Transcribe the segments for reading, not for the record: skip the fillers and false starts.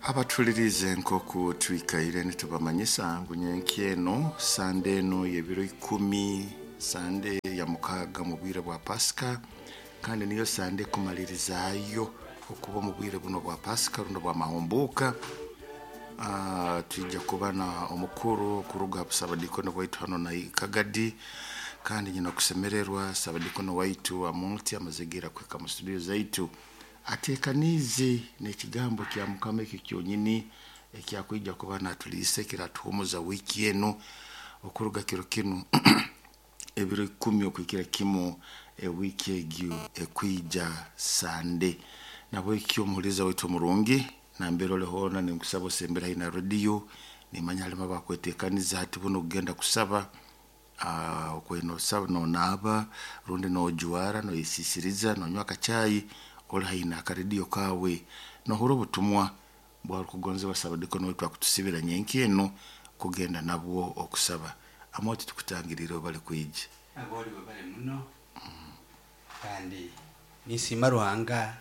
Abatulirize nk'oku twikaire nitubamanyisa ngu nyenkya eno Sande eno y'ebiro 10, Sande ya 6 mu bwire bwa Pasika, kandi niyo Sande ekumalirizaayo okuba omu bwire buno bwa Pasika rundi bwa mahumbuuka. Twija kuba na omukuru kuruga ha busabadikoni bwaitu hano na Kagadi, kandi nyina okusemererwa sabadikoni waitu Amulti amaze kuhika mu studio zaitu atekaniize n'ekigambo kya Mukama ekyo kyonyini ekyakwija kuba natuliisa ekiratuhumuza wiiki enu okuruga kiro kinu ebiro 10 okuhikira kimu ewiiki egyo ekwija Sande. Nabwekyo omuhuliza waitu omurungi nambere oli hoona ninkusaba osembere haihi na rediyo, nimanya halimu abakwetekaniza hati buno okugenda kusaba. Okwenda osaba nonaaba rundi nojwara noyesisiriza nonywa akachai oli haihi n'akarediyo kaawe nohurra obutumwa bwarukugonzebwa sabadikoni waitu akutusibira nyenkya enu kugenda nabwo okusaba. Amoti tukutangiriire bali kwija. Aboli bali muno kandi nisiima Ruhanga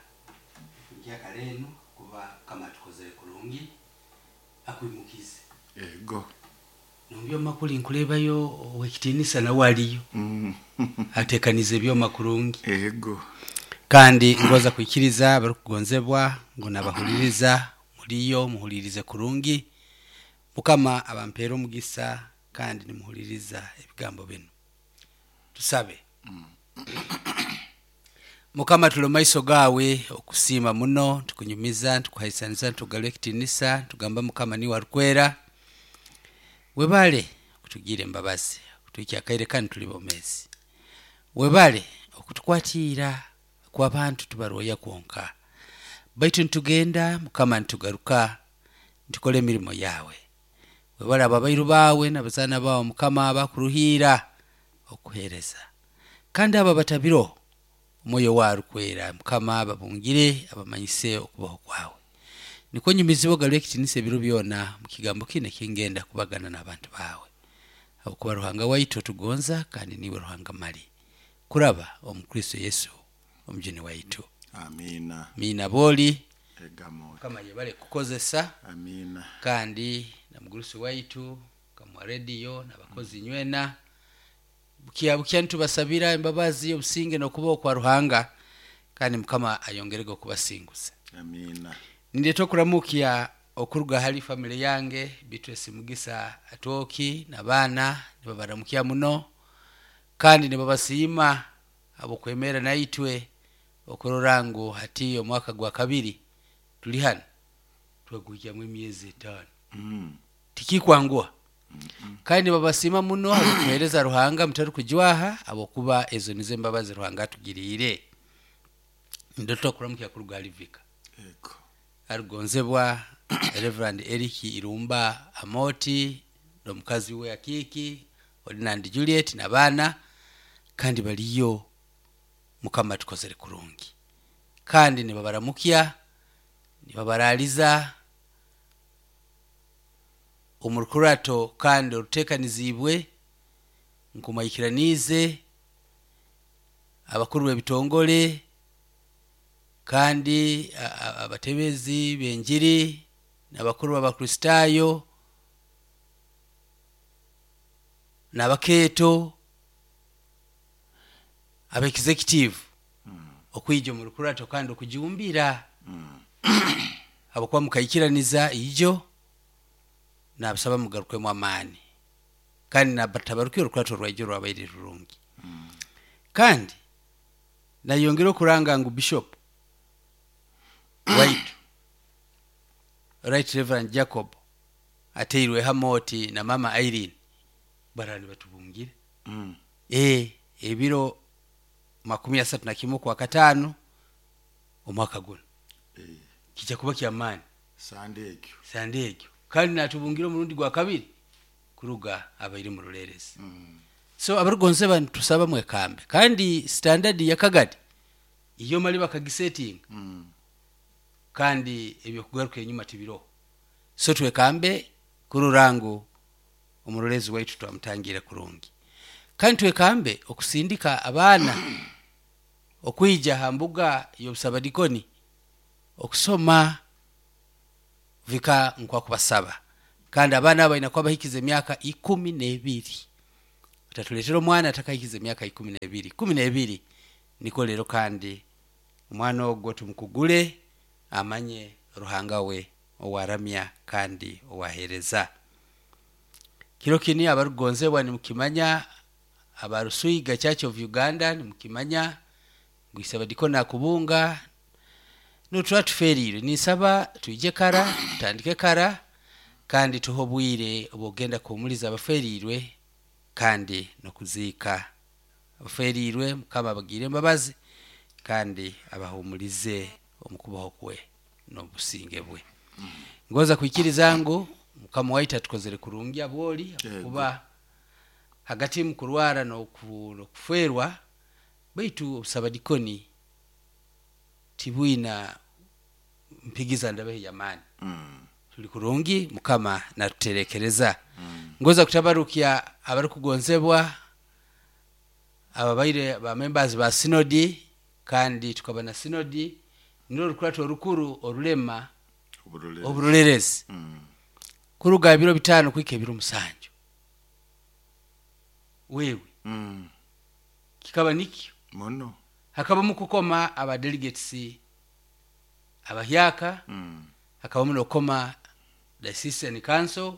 nkyakara enu kuba kama tukozere kurungi akwimukize. Ego. Nombyoma kuli nkulebayo owekitinisa nawe aliyo. Atekanize ebyoma kurungi. Ego. Kandi ngoza kwikiriza abarukugonzebwa ngu nabahuliriza muliyo muhulirize kurungi. Mukama abampera omugisa kandi nimuhuliriza ebigambo binu. Tusabe. Mukama tuli maiso gawe okusiima muno, tukunyumiza, tukuhaisaniza, tukugarura ekitinisa, tugamba Mukama niwe arukwera. Webale okutugira embabazi, okutuhikya akaire kanu tuli bomezi. Webale okutukwatiira kw'abantu tubarwoya kwonka. Baitu nitugenda Mukama nitugaruka nitukora emirimo yawe. Webale abo abairu bawe n'abazaana bawe Mukama abakuruhiira okuheereza. Kandi abo abatabiro omwoyo wawe arukwera Mukama ababungire abamanyise okubaho kwawe. Nikwo nyumizibwa ogarure ekitinisa ebiro byona mu kigambo kinu ekingenda kubagana n'abantu bawe. Habwokuba Ruhanga waitu otugonza kandi niwe Ruhanga mali. Kuraba omu Kristo Yesu omujuni waitu. Amina. Amina booli. Egamo. Mukama yebale kukozesa. Amina. Kandi na mugurusi waitu kamwa rediyo n'abakozi nywena. Bukya bukya nitubasabira embabazi obusinge n'okubaho kwa Ruhanga kandi Mukama ayongerege okubasinguza. Amina. Nindeeta okuramukya okuruga hali family yange Beatrice Mugisa Atwoki n'abaana nibabaramukya muno kandi nibabasiima habw'okwemera naitwe okurora ngu hati omwaka gwa kabiri tuli hanu tweguhikyamu emyezi 5. Tikikwanguha. Kandi nibabasiima muno habw'okuheereza Ruhanga mutarukujwaha habwokuba ezo nizo embabazi Ruhanga atugiriire. Nindota okuramukya kuruga hali Vika. Ego. Arugonzebwa Reverend Eric Irumba Amoti n'omukazi we Akiiki Ordinand Juliet n'abaana kandi baliyo Mukama atukozere kurungi. Kandi nibabaramukya, nibabaraliza omu rukurato kandi oruteekaniziibwe nkumwikiraniize abakuru b'ebitongole kandi abatebezi b'enjiri n'abakuru b'Abakristaayo n'abakeeto ab'executive okwija omu rukurato kandi okujumbira habwokuba mukaikiraniza ijo nabasaba mugarukemu amaani kandi nabatabarukire orukurato rwaijo rwabaire rurungi. Kandi nayongera okuranga ngu Bishop waitu Right Reverend Jacob ateirweho Amoti na Mama Irene barara nibatubungire. Ebiro 31 kwa 5 omwaka guno. Kijja kuba kyamaani. Sande egyo. Sande egyo. Kandi natubungira omurundi gwa kabiri kuruga abaire mu rulerezi. So abarugonzeba nitusaba mwekambe. Kandi standard ya Kagadi iyo mali bakagisetinga. Kandi ebyokugaruka enyuma tibiroho. So twekambe kurora ngu omurorezi waitu twamutangira kurungi. Kandi twekambe okusindika abaana okwija ha mbuga y'obusabadikoni okusoma. Vika nkwakubasaba kandi abaana abo balina kuba bahikize emyaka 12. Otatuleetera omwana atakahikize emyaka 12. 12 niko leero kandi omwana ogwo tumukugule amanye Ruhanga we owaramya kandi owaheereza. Kiro kini abarukugonzebwa nimukimanya, abaruswiga Church of Uganda nimukimanya ngu Isabadikoni akubunga nutuba tuferiirwe. Ninsaba twije kara, tutandike kara kandi tuhe obwire obw'okugenda kuhumuliza abaferiirwe kandi n'okuziika abaferiirwe. Mukama abagiire embabazi kandi abahumulize omu kubaho kwe n'obusinge bwe. Ngoza kwikiriza ngu Mukama waitu atukozere kurungi abwoli kuba hagati mu kurwara n'okuferwa, baitu obusabadikoni tibwina mpigiza ndabeho y'amaani. Tuli kurungi, Mukama natuterekereza. Ngoza kutabarukya abarukugonzebwa ababaire ba members ba sinodi, kandi tukaba na sinodi nirwo orukurato orukuru orulema oburolerezi kuruga ebiro 5 kuhika ebiro 7. Wewe kikaba nikyo muno hakabamu kukoma aba delegates abahyaka, hakabamu n'okukoma diocesan council,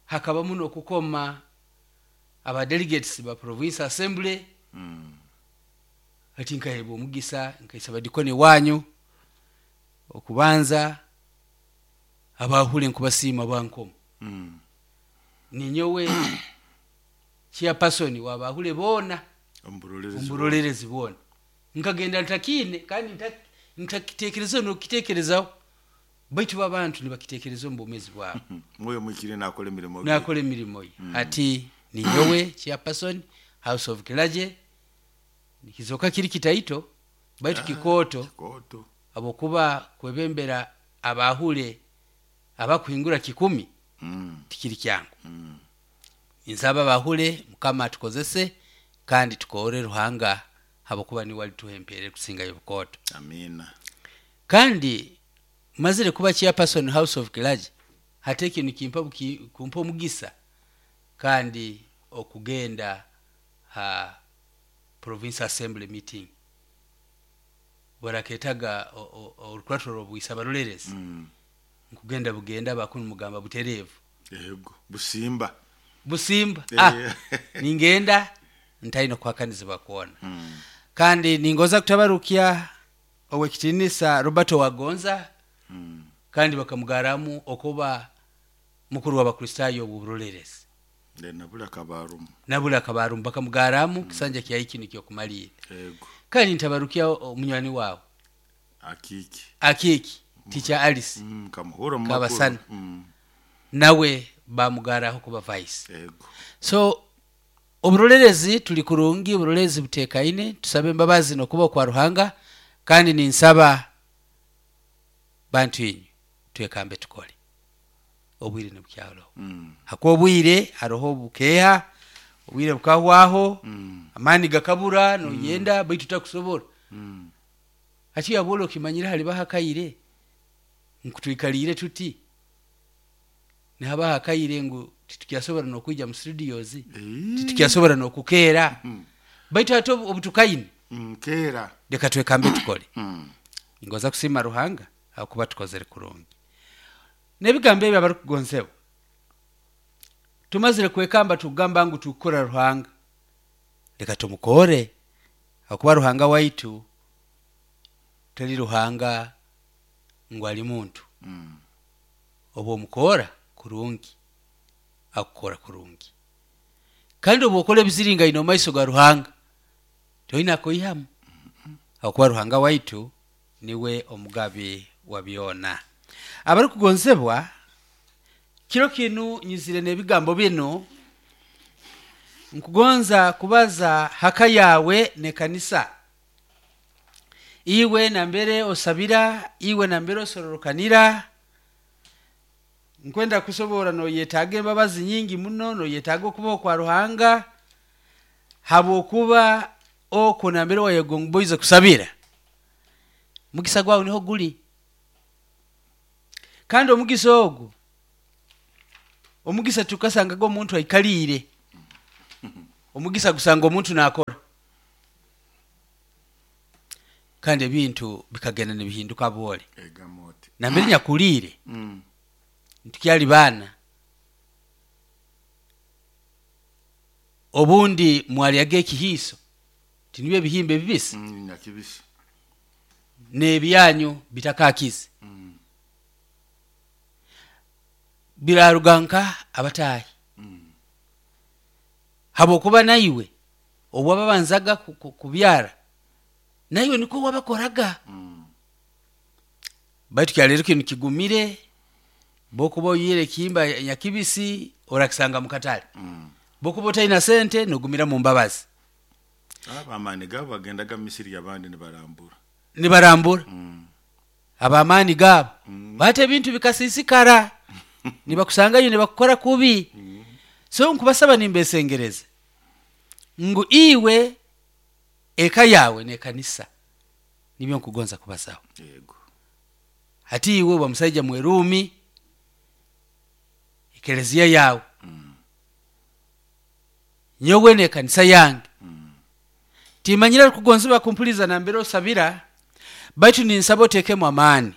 hakabamu n'okukoma aba delegates ba province assembly. Hati nkahebwa omugisa nkaisaba dikoni wanyu okubanza abahule nkubasiima bankomo. Ninyowe chairperson wabahule boona omuburolerezi boona. Nkagenda ntakiine kandi ntakitekerezaho n'okukitekerezaho, baitu abantu nibakitekereza omu bwomeezi bwabo. Mwoyo mwikire nakora emirimo ye. Nakora emirimo ye. Hati ninyowe chairperson House of Clergy, nikizoka kiri kitaito baitu kikooto, abokuba kwebembera abahule abakuhingura 10 tikiri kyangu. Nsaba abahule Mukama atukozese kandi tukore Ruhanga habokuba niwe alituha empeera ekusingayo obukooto. Amina. Kandi mazire kuba chairperson House of Clergy, hati ekyo nikimpa kumpa omugisa kandi okugenda ha province assembly meeting baraketaga orukurato rw'obwisa barolerezi. Nkugenda bugenda bakunu mugamba butereevu. Yego, busimba. Busimba. Ningenda ntaino kuhakanizibwa kuona. Kandi ningoza kutabarukya owekitinisa Roberto Wagonza, kandi bakamugaramu okuba mukuru w'Abakristayo oburolerezi. Nabula kabarumu. Nabula kabarumu bakamugaramu kisanja kya iki nikyo kumalira. Yego. Kandi ntabarukia omunywani wawe Akiki. Akiki Teacher Alice. Kamuhura mu Kabasana. Nawe bamugaraho kuba vice. Yego. So oburolerezi tuli kurungi, oburolerezi butekaine, tusabe embabazi n'okuba kwa Ruhanga, kandi ninsaba bantu inyu twekambe tukole. Obwire nibukyaloho. Hakuba obwire haroho obukeha, obwire bukahwaho, amani gakabura noyenda baitu takusobora. Hati yabwola okimanyire hali bahakaire nkutwikalire tuti nihaba hakaire ngu titukyasobora n'okwija mu studios, titukyasobora n'okukeera. Baitu hati obutukaine keera leka twekambe tukole. Ngoza kusiima Ruhanga ahakuba tukozere kurungi. N'ebigambo ebyo abarukugonzebwa, tumazire kwekamba tukugamba ngu tukukora Ruhanga, leka tumukore ahakuba Ruhanga waitu tali Ruhanga ngu ali muntu. Obu omukora kurungi akukora kurungi, kandi obu okora ebiziringaine omu maiso ga Ruhanga toina kuihamu, ahakuba Ruhanga waitu niwe omugabi wa byona. Abarukugonzebwa, kiro kinu nyizire n'ebigambo binu nkugonza kubaza haka yawe n'ekanisa. Iwe nambere osabira, iwe nambere osororokanira, nkwenda kusobora noyetaaga embabazi nyingi muno, noyetaaga okubaho kwa Ruhanga, habwokuba okwo nambere wayegomboize kusabira mugisa gwawe niho guli. Kandi omugisa ogu, omugisa tukasangaga omuntu aikaliire, omugisa gusanga omuntu naakora. Kandi ebintu bikagenda nibihinduka bwole. Egamba oti. Nambere nyakuliire, nitukyali baana, obundi mwaryaga ekihiiso, tinibyo ebihimba ebibisi? Nyakibisi. N'ebyanyu bitakakize. Biraruga nka abataahi. Habwokuba naiwe obu wababanzaga kubyara, naiwe nikwo wabakoraga. Baitu kyaleero kinu kigumire, bwokuba oyiire ekihimba nyakibisi, orakisanga mu katale. Bwokuba otaina sente, nogumira mu mbabazi. Abamaani gaabo bagendaga mu misiri y'abandi nibarambura. Nibarambura. Abamaani gaabo. Bati ebintu bikasiisikara, nibakusangayo nibakukora kubi. So nkubasaba nimbeesengereza ngu iwe eka yawe n'ekanisa nibyo nkugonza kubazaho. Yego. Hati iwe oba musaija mweruumi, ekeleziya yawe. Nyowe n'ekanisa yange. Timanyire arukugonzibwa kumpuliza nambere osabira, baitu ninsaba oteekemu amaani.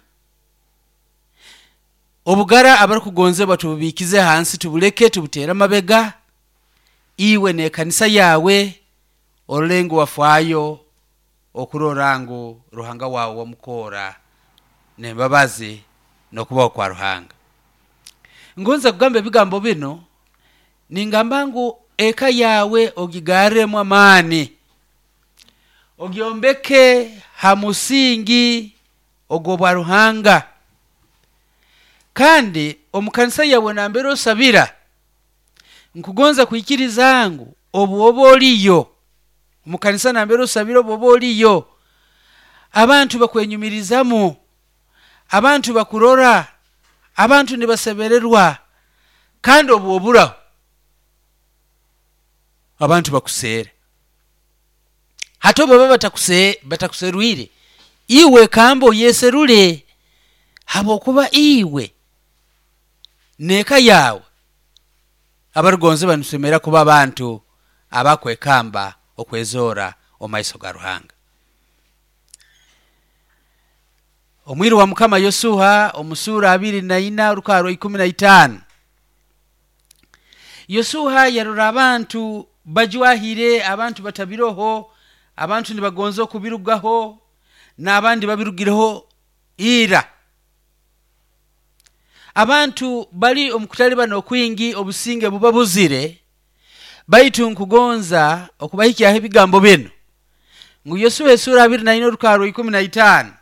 Obugara abarukugonzebwa tububiikize hansi, tubuleke, tubuteere amabega, iwe n'ekanisa yawe orole ngu wafaayo okurora ngu Ruhanga wawe wamukoora n'embabazi n'okubaho kwa Ruhanga. Ngonza kugamba ebigambo binu, ningamba ngu eka yawe ogigarremu amaani, ogyombeke ha musingi ogw'obwa Ruhanga. Kandi omu kanisa yawe nambere osabira, nkugonza kwikiriza ngu obu oba oliyo, omu kanisa nambere osabira obu oba oliyo, abantu bakwenyumirizamu, abantu bakurora, abantu nibasemererwa, kandi obu oburaho, abantu bakuseera. Hati obu baba batakuserwire, iwe kamba oyeserule, habwokuba iwe n'eka yawe abarugonzebwa nitusemera kuba abantu abakwekamba okwezoora omu maiso ga Ruhanga. Omwiru wa Mukama Yosuha omu suura abiri na ina orukarwa ikumi na itaano. Yosuha yarora abantu bajwahire, abantu batabiroho, abantu nibagonza okubirugaho, n'abandi babirugireho ira. Abantu bali omu kutalibana okwingi, obusinge buba buzire, baitu nkugonza okubahikyaho ebigambo binu. Ngu Yosuha esuura abiri na ina orukarwa ikumi na itaano.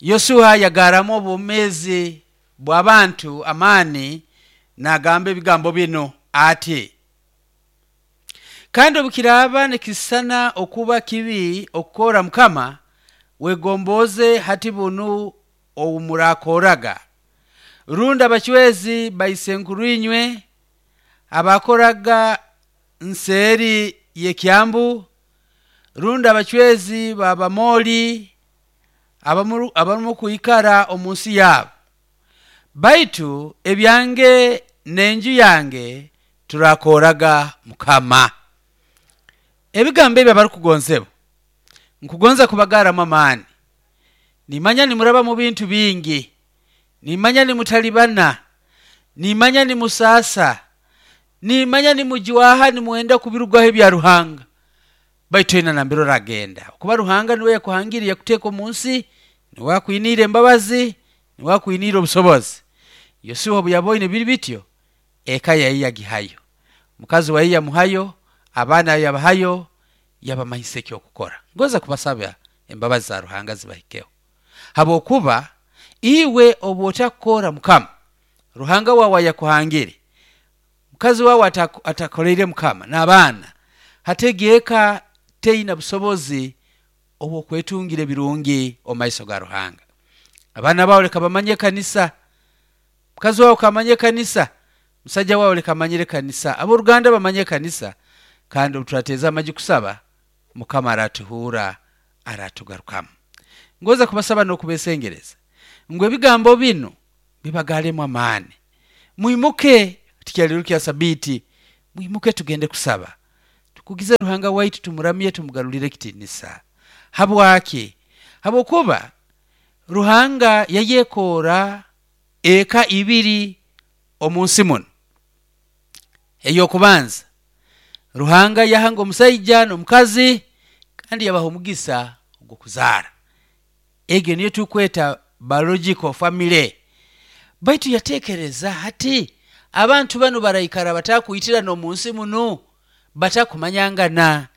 Yosuha yagaramu obwomeezi bw'abantu amaani n'agamba ebigambo binu ati: kandi obukiraaba nikisisana okuba kibi okukora Mukama, wegomboze hati bunu ou murakoraga. Rundi abacwezi baisenkuruinywe abakoraga nseeri y'ekyambu, rundi abacwezi b'Abamoli abarumu kwikara omu nsi yabo. Baitu ebyange n'enju yange turakoraga Mukama. Ebigambo ebi abarukugonzebwa, nkugonza kubagaramu amaani. Nimanya nimuraba mu bintu bingi, nimanya nimutalibana, nimanya nimusaasa, nimanya nimujwaha, nimwenda kubirugaho ebya Ruhanga. Baitu toina nambere oragenda. Kuba Ruhanga niwe yakuhangire, yakuteeka omu nsi, niwe akwiniire embabazi, niwe akwiniire obusobozi. Yosuha obu yaboine biri bityo, eka yaye yagihayo, mukazi waye yamuhayo, abaana yabahayo, yabamanyisa eky'okukora. Ngonza kubasaba embabazi za Ruhanga zibahikeho. Habwokuba iwe obu otakukora Mukama, Ruhanga wawe ayakuhangire, mukazi wawe atakoleire Mukama n'abaana, hati egi eka teina busobozi obw'okwetungira ebirungi omu maiso ga Ruhanga. Abaana bawe leka bamanye ekanisa, mukazi wawe kamanye ekanisa, musaija wawe leka amanyire ekanisa, ab'oruganda bamanye ekanisa, kandi obu turateeza amaju kusaba, Mukama aratuhuura, aratugarukamu. Ngonza kubasaba n'okubeesengereza. Ngu ebigambo binu bibagalemu amaani. Mwimuke, tikyaliro kya sabiti, mwimuke tugende kusaba, tukugize Ruhanga waitu, tumuramye, tumugarulire ekitinisa. Habwaki? Habwokuba Ruhanga yayekoora eka ibiri omu nsi muno. Ey'okubanza, Ruhanga yahanga omusaija n'omukazi kandi yabaha omugisa ogw'okuzaara. Egyo niyo tukweta biological family. Baitu yateekereza hati abantu banu baraikara batakwitirana omu nsi muno, batakumanyangana.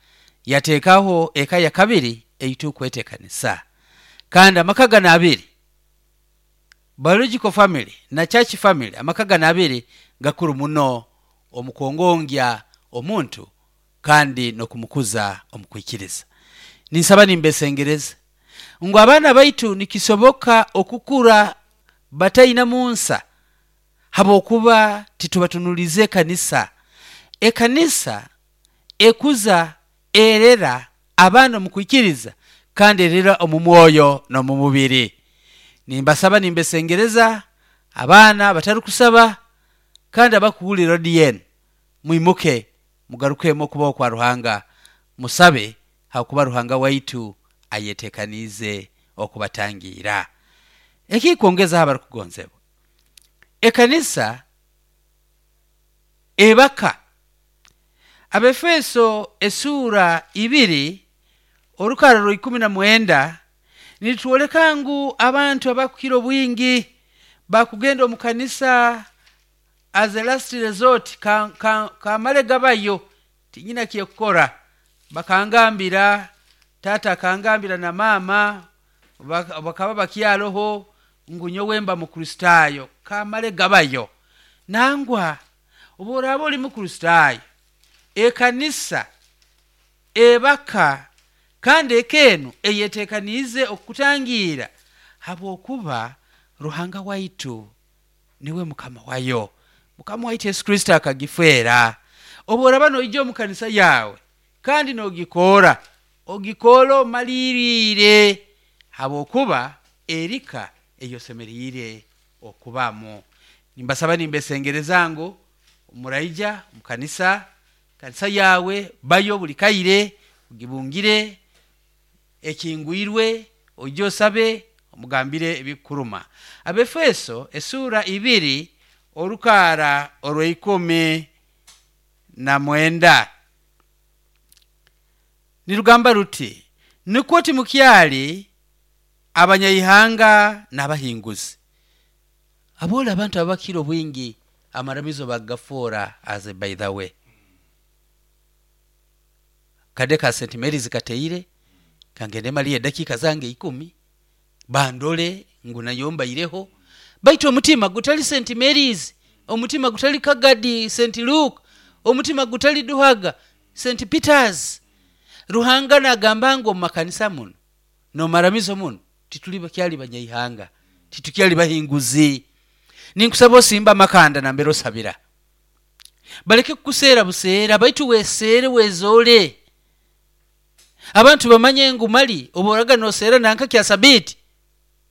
Yateekaho eka ya kabiri eitukweta ekanisa. Kandi amaka gano abiri, biological family na church family, amaka gano abiri gakuru muno omu kwongongya omuntu kandi n'okumukuza omu kwikiriza. Ninsaba nimbesengereza ngu abaana baitu nikisoboka okukura bataina munsa habwokuba titubatunulize ekanisa. Ekanisa ekuza erera abaana omu kwikiriza kandi erera omu mwoyo n'omu mubiri. Nimbasaba nimbesengereza abaana batarukusaba kandi abakuhurira ODN, mwimuke mugarukemu okubaho kwa Ruhanga, musabe habwokuba Ruhanga waitu ayetekaniize okubatangiira. Ekikwongezaho abarukugonzebwa, ekanisa ebaka. Abefeso esuura 2 orukara rwa 19 nitwoleka ngu abantu abakukira obwingi bakugenda omu kanisa as a last resort, kamale gabayo tinyina kyekukora, bakangambira tata akangambira na mama bakaba bakyaroho ngu nyowe mba Mukristayo, kamale gabayo. Nangwa obu oraaba oli Mukristayo, ekanisa ebaka kandi eka enu eyetekaniize okukutangiira habwokuba Ruhanga waitu niwe Mukama wayo. Mukama waitu Yesu Kristo akagifeera. Obu oraba noija omu kanisa yawe kandi nogikoora, ogikoora omaliriire habwokuba erika eyosemeriire okubamu. Nimbasaba nimbesengereza ngu muraija omu kanisa, kanisa yawe bayo buli kaire, ogibungire ekingwirwe, oije osabe, omugambire ebikukuruma. Abefeso esuura 2 orukaara orwa 19 nirugamba ruti, nukwo timukyali abanyaihanga n'abahinguzi. Aboole abantu abakira obwingi amaramizo bagafoora as a by the way. Kade ka St Mary's kateire kangende maliyo edakiika zange 10 bandole ngu nayo mbaireho, baitu omutima gutali St Mary's, omutima gutali Kagadi St Luke, omutima gutali Duhaga St Peters. Ruhanga nagamba ngu omu makanisa muno n'omaramizo muno tituli bakyali banyaihanga, titukyali bahinguzi. Ninkusaba osimba amakanda nambere osabira, baleke kukuseera buseera, baitu weseere wezoole, abantu bamanye ngu mali obu oraga noseera nanka kya sabiti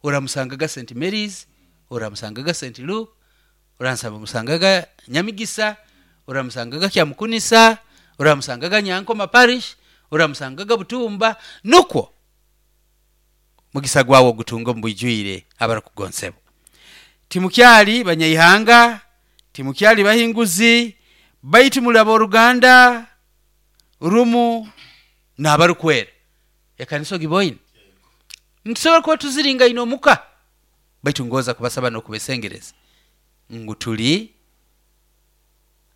oramusangaga St Mary's, oramusangaga St Luke, oramusangaga Nyamigisa, oramusangaga Kyamukunisa, oramusangaga Nyankoma Parish, oramusangaga Butumba. Nukwo mugisa gwawe ogutunga omu bwijwire abarukugonsebwa. Timukyali banyaihanga, timukyali bahinguzi, baitu muli ab'oruganda rumu n'abarukwera. Ekanisa ogiboine? Nitusobora kuba tuziringaine omuka, baitu ngoza kubasaba n'okubesengereza ngu tuli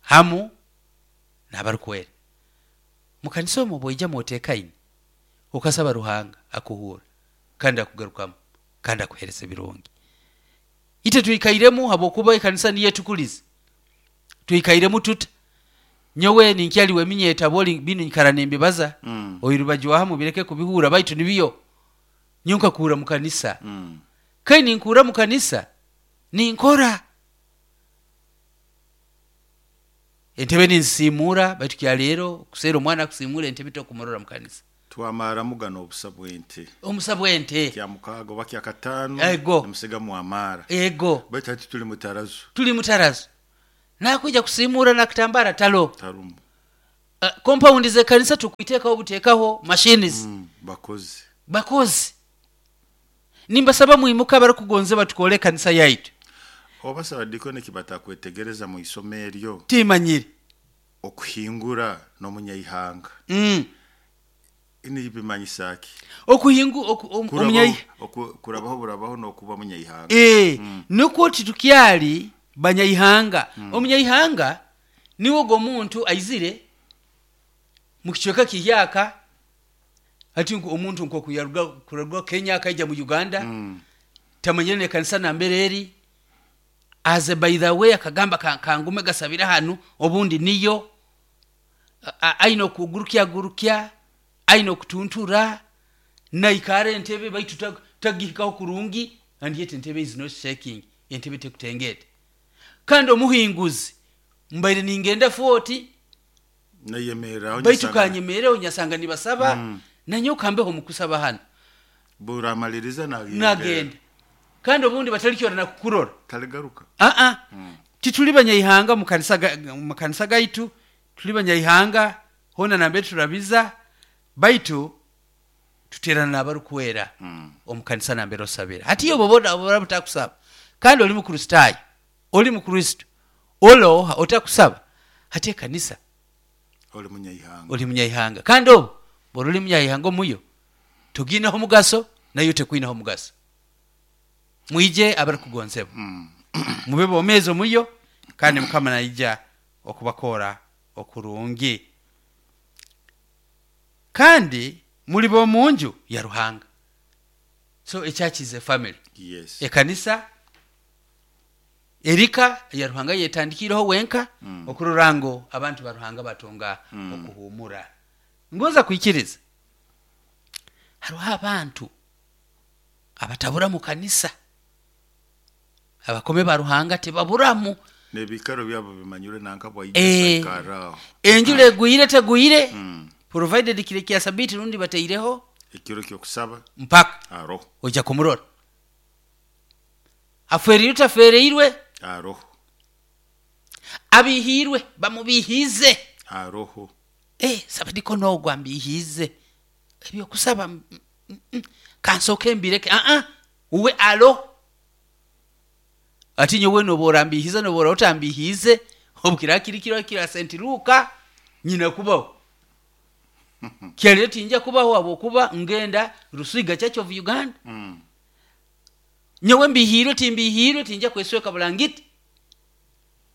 hamu n'abarukwera. Mukanisa omu obu oija mwotekaine, okasaba Ruhanga akuhuura kandi akugarukamu kandi akuhereza ebirungi. Itwe twikairemu habwokuba ekanisa niyo etukulize, twikairemu tuta? Nyowe ninkyaliwe eminyeta boli binu nyikara nimbibaza, oirubajwahamu bireke kubihura, baitu nibyo nyowe nkakuura mu kanisa. Kai ninkuura mu kanisa ninkora entebe ninzisiimuura, baitu kya leero kuseera omwana akusiimuura entebe tokumurora mu kanisa. Twamaramu gano obusa bw'ente. Omusa bw'ente. Kya mukaaga oba kya kataano. Ego. Nimusigamu amaara. Ego. Baitu hati tuli mutarazo. Tuli mutarazo, nakwija kusiimuura nakitambara talo. Tarumu. Compound z'ekanisa tukwiteekaho buteekaho machines. Bakozi. Bakozi, nimbasaba mwimuka abarukugonza batukole ekanisa yaitu. Oba sabadikoni kibatakwetegereza mu isomo eryo. Timanyire. Okuhingura n'omunyaihanga. Nibimanyisa ki? Okuhingu omunyai Kurabaho burabaho n'okuba munyaihanga. Nukwo titukyali banyaihanga. Omunyaihanga niwe ogwo omuntu aizire mu kicweka kihyaka, hati omuntu nkoku yaruga kuraruga Kenya akaija mu Uganda, tamanyire n'ekanisa nambere eri, aze by the way akagamba kangume gasabira hanu obundi niyo aine okugurukya gurukya, aine okutuntura, naikara entebe baitu tagihikaho kurungi, and yet entebe is not shaking, entebe tekutengeta. Kandi omuhinguzi mbaire ningenda 40 nayemereraho, baitu kanyemereho nyasanga nibasaba, nanyowe kambeho mukusaba hano. Buramaliriza nagenda. Nagenda. Kandi obundi batalikyora nakukurora. Taligaruka. Tituli banyaihanga mu kanisa gaitu, tuli banyaihanga hona nambere turabiza, baitu tuterana n'abarukwera omu kanisa nambere osabira. Hati iyo bobona butakusaba, kandi oli mukristayo, oli mukristo, oloha otakusaba, hati ekanisa oli munyaihanga. Oli munyaihanga. Kandi obu bwori oli munyaihanga omuyo toginaho mugaso, nayo tekwinaho mugaso. Mwije abarukugonzebwa, mube bomezi omuyo, kandi Mukama naija okubakora okurungi. Kandi muri bomunju ya Ruhanga. So a church is a family. Yes. Ekanisa erika ya Ruhanga yetandikireho wenka, okururango abantu ba Ruhanga batunga okuhumura. Ngoza kwikiriza hariho abantu abatabura mu kanisa, abakome ba Ruhanga tebaburamu. Nebikaro byabo bimanyure nanka bwaija. Enjura egwire tegwire, provided kire kya sabiti rundi bateireho ekiro kyokusaba mpaka aroho ojja kumurora. Afereirwe tafereirwe aroho, abihirwe bamubihize aroho. Sabadiko nogwo ambihize ebyokusaba kansoke mbireke. Uwe alo ati nyowe nobora mbihize nobora otambihize obukira kiri kiro kira St. Luka nyina kubaho kyalire tinja kubaho abokuba ngenda Rusiga Church of Uganda. Nyowe mbihirwe timbihirwe tinja kwesweka bulangiti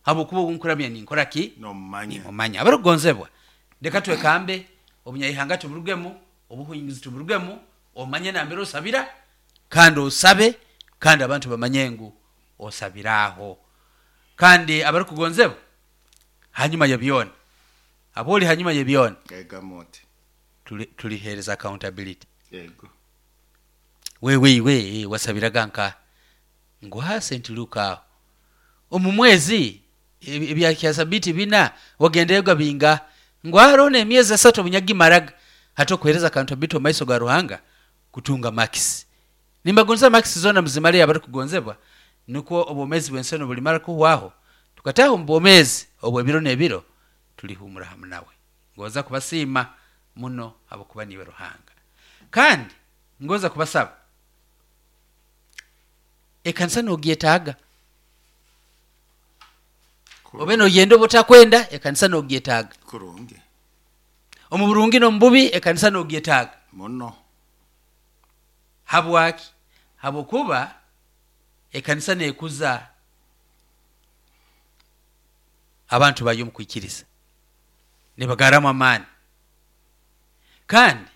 abokuba nkuramya ninkora ki nomumanya. Abarukugonzebwa leka twekambe obunyaihanga tuburugemu, obuhinguzi tuburugemu, omanye nambere osabira kandi osabe, kandi abantu bamanye ngu osabiraho. Kandi abarukugonzebwa hanyuma ya byona, aboli hanyuma ya byona tulihereza accountability. Yego. Wewe wasabiraga nka ngwa St. Luka omu mwezi ebya kyasabiti bina wagendega binga ngwaro ne miezi 3 bunyagimaraga hata kuhereza accountability maiso ga Ruhanga kutunga max. Nimbagonza max zona mzimale abarukugonzebwa nuko obomezi bwenseno bulimara kuhwaho tukataho mbomezi obwebiro nebiro tulihumura hamwe nawe. Ngoza kubasima muno abokuba niwe Ruhanga. Kandi ngoza kubasaba ekanisa nogyetaaga, obe nogenda obotakwenda ekanisa nogyetaaga kurungi, omu burungi n'omububi ekanisa nogyetaaga muno. Habwaki? Habwokuba ekanisa nekuza abantu bayo mu kwikiriza, nebagaramu amaani, kandi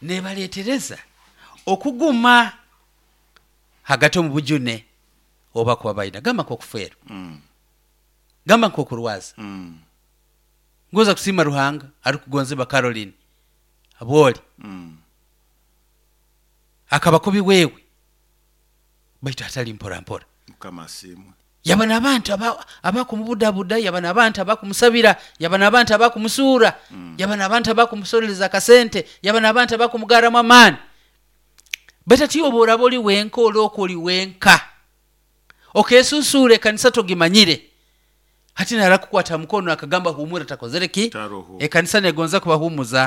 nebaletereza okuguma hagati omu bujune oba kuba baina gamba nk'okufeerwa, gamba nk'okurwaza. Ngoza kusima Ruhanga arikugonzebwa Caroline abwoli akaba kubi wewe baitu hatali mpora mpora. Mukama asimwe. Yaba n'abantu abakumubudabuda, yaba n'abantu abakumusabira, yaba n'abantu abakumusuura, yaba n'abantu abakumusorereza akasente, yaba n'abantu abakumugaramu amaani. Baitu ati oba oraba oli wenka, olooka oli wenka, okesusuura ekanisa togimanyire, hati narakukwata mukono akagamba humura, takozere ki? Taroho. Ekanisa negonza kubahumuza.